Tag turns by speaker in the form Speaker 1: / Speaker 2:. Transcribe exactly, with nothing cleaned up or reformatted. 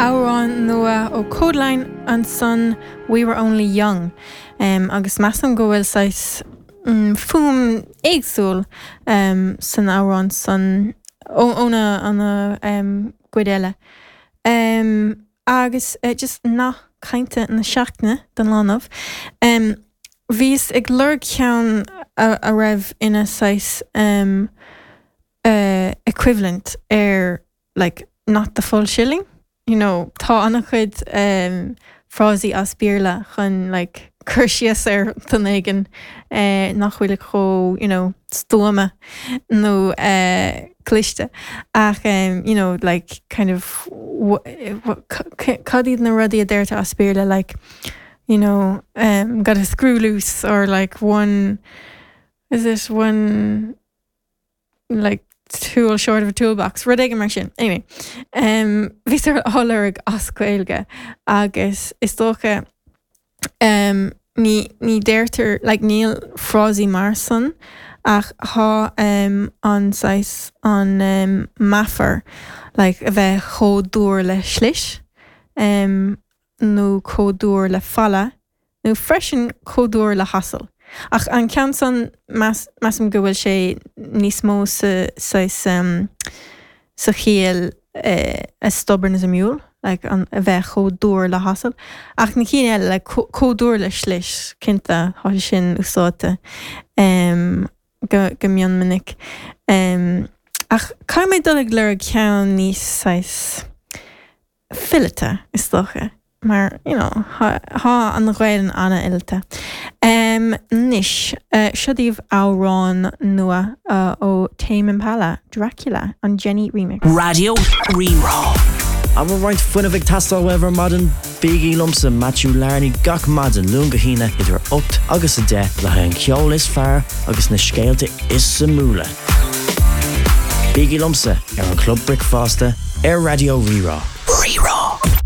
Speaker 1: Amhrán nua ó Kodaline ansan We Were Only Young um, agus measaim go bhfuil saghas um, fuaim éagsúil um, san amhrán san óna ana um, gcuid eile. Um, agus uh, just nath cainte na seachtaine don lá inniu. Um, Bhíos ag lorg ceann a, a raibh ina saghas um, uh, equivalent ar like not the full shilling. You know, tá an-chuid um, frásaí as Béarla chun like, cur síos ar dhuine éigin eh, nach bhfuil chomh you know, stuama nó uh, cliste ach um, you know, like kind of cad iad na rudaí a deirtear as Béarla like you know um, got a screw loose or like one is it one like tool short of a toolbox rud éigin mar sin anyway um, bhíos á lorg as Gaeilge agus is dócha um, ní ní deirtear like níl frásaí mar san ach tá um, an saghas an um, meafar like a bheith chomh dúr le slis um, nó chomh dúr le falla nó freisin chomh dúr le hasal. Ach an ceann san measaim go bhfuil sé níos mó sa saghas um, sa chiall uh, as stubborn as a mule, like an a bheith chomh dúr le hasal. Ach na cinn eile le chomh dúr le slis cinnte tá sin úsáidte um, go, go mion minic. Um, ach caithfidh mé dul ag lorg ceann níos saghas fileata is dócha. Mar you know, tá an Ghaeilge an-fhileata. Um, Anois uh, seo daoibh amhrán nua uh, ó Tame Impala, Dracula an Jenny remix.
Speaker 2: Raidió Rí-Rá.
Speaker 3: An bhfuil roinnt fuinnimh ag teastáil uaibh ar maidin bígí liomsa Matthew Larney gach maidin Luan go hAoine idir ocht agus a deich le haghaidh an ceol is fearr agus na scéalta is suimiúla. Bígí liomsa ar an Club Bricfeasta ar Raidió Rí-Rá.
Speaker 2: Rí-Rá.